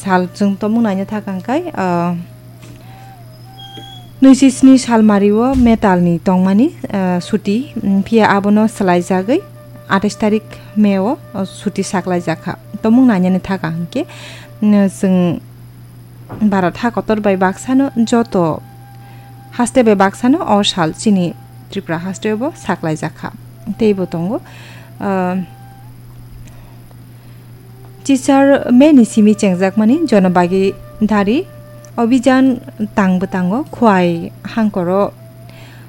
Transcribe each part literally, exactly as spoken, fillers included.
Sal chwng tomung naina thakang kai, ah, nui si sni sal mario metal ni tongmani, ah, suti, mm, phiya abono swlaijagwi atais tarik May o, ah, suti saklaijakha. Tomung nainani thakang hinkhe, mm, chwng Bharat ha kotor bai baksano joto haste bai baksano o sal chini Tripura haste bo saklaijakha. Teibo tongo, ah, Chichar May ni simi chengjakmani Janabhagidari Abhijan tang bwtango Khwai hangkoro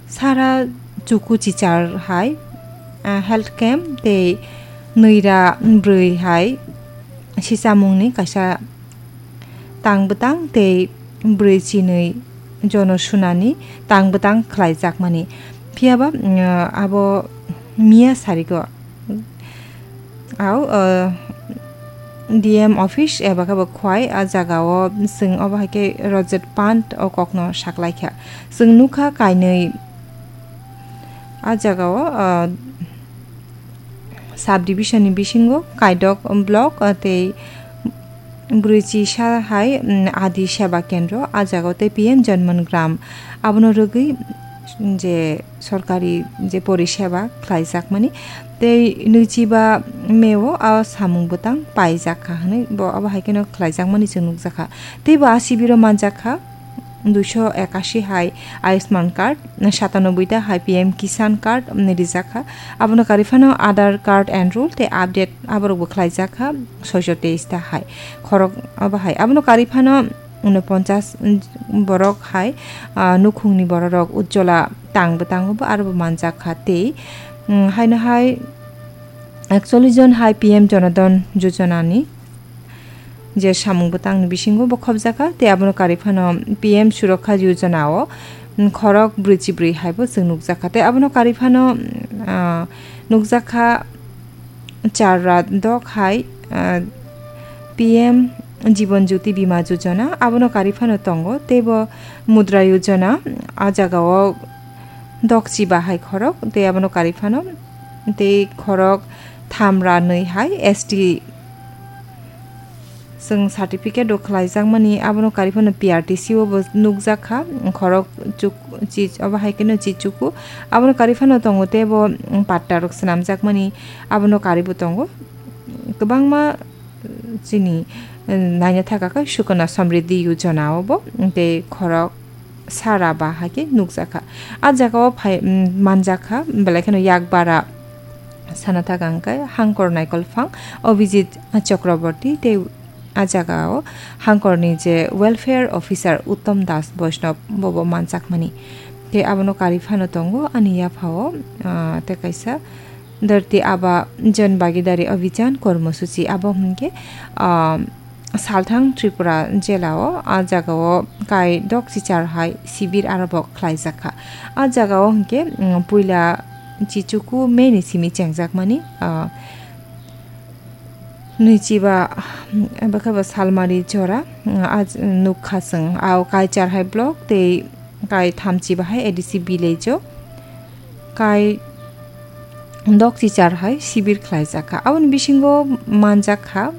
sara chuku chichar hai, ah, health camp tei nwira bwrwi hai sichamungni kaisa tang bwtang tei bwrwi chinwi jono sunani tang bwtang khlaijakmani. Phiyaba, mm, abo miya sarigo. Au, uh, D M office eba khe bo Khwai, a jagao chwng obo hai khe Rajat Pant o kokno saklaikha. Chwng nukha kainwi a jagao, uh, sub division ni bisingo Kaidok block, uh, tei Bwrwichi sa hai, mm, Adi Seba Kendro, a jagao tei P M Janman Gram. Abono rwgwi je sorkari je poriseba khlaijakmani tei nwichiba May o a samung bwtang paijakha hwnwi bo abo hai kheno khlaijakmani chwng nukjakha. Tei bo a sibiro manjakha duiso ekashi hai Ayushman card, satanoboi ta hai P M Kisan card, mm, rijakha. Abono kari phano Aadhaar card enroll tei update aborok bo khlaijakha soiso teis ta hai. Khorok abo hai. Abono kari phano unoponchas borok hai, ah, nukhungni bororok Ujjwala tang bwtango bo aro bo manjakha tei, mm, haino hai ekchollish jon hai P M Janadhan Yojana ni je samung bwtangni bisingo bo khopjakha tei abono kari phano P M Surakkha Yojana o, mm, khorok brwichi brwi hai bo chwng nukjakha tei abono kari phano, mm, ah, nukjakha char ra dok hai, ah, P M Jiban Jyoti Bima Yojana, abono kari phano tongo, tei bo Mudra Yojana, a jagao dokchi bahai khorok, tei abono kari phano tei khorok tham ra nwi hai S T chwng certificate rok khlaijakmani, abono kari phano P R T C o bo nukjakha, khorok chuk-, chi-, obo hai kheno chichuku, abono kari phano tongo tei bo, mm, patta rok swnamjakmani, abono kari bo tongo. Kwbangma, eh, chini, eh, naina thaka khe Sukanya Samriddhi Yojana o bo, tei khorok sara ba hai khe nukjakha. A jagao phai, mm, manjakha, belai kheno yak bara sana thaka hwnkhe Hangkor Naikolphang Abhijit Chakraborty tei a jagao Hangkorni je welfare officer Uttam Das Vaishnav bobo manjakmani. Tei abono kari phano tongo ani yaphao, ah, tei kaisa Dharti Aaba Jan Bhagidari Abhijan Kormosuchi abo hwnkhe, ah, Salthang Tripura jela o a jaga o kai dok chichar hai sibir aro bo khlaijakha. A jaga o hwnkhe, mm, puila chichuku May ni simi chengjakmani, ah, nwichiba, mm, abo khe bo salmari jora, mm, a j-, nukha chwng. A o kai char hai block tei kai thamchi bahai A D C village o kai dok chichar hai sibir khlaijakha. Aboni bisingo manjakha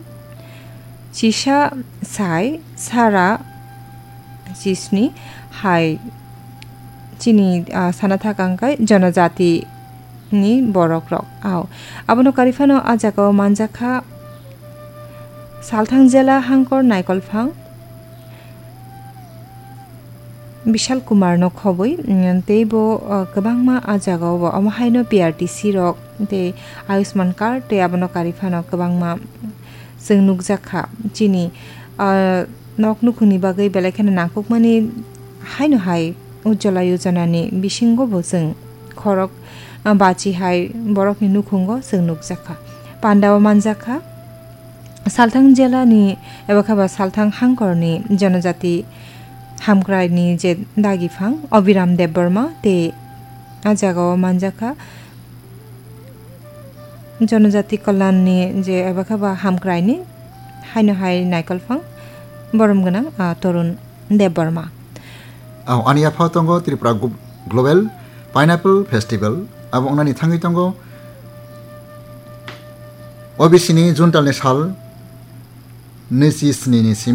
chisa sai sara chisni hai chini, ah, sana thaka hwnkhe jonojati ni borok rok. Ao. Abono kari phano a jaga o manjakha Salthang jela Hangkor Naikolphang Bishal Kumar no khobwi, mm, tei bo, uh, kwbangma a jaga o bo omo haino P R T C rok tei Ayushman card tei abono kari phano kwbangma chwng nukjakha. Chini, uh, nok nukhungni bagwi belai kheno nangkukmani haino hai Ujjwala Yojana ni bisingo bo chwng khorok, uh, bachi hai borokni nukhungo chwng nukjakha. Panda o manjakha. Salthang jela ni eba khe ba Salthang Hangkor ni Jonojati Hamkrai ni je dagi phang Abhiram Debbarma tei a jaga o manjakha Jonojati Kalyan ni je eba khe ba Hamkrai ni haino hai Naikolphang borom gwnang, ah, Torun Debbarma. Ang ani yaphao tongo Tripura Glo-, Global Pineapple Festival. Abo wngnani thangwi tongo O B C ni June talni sal nwichi sni ni simi.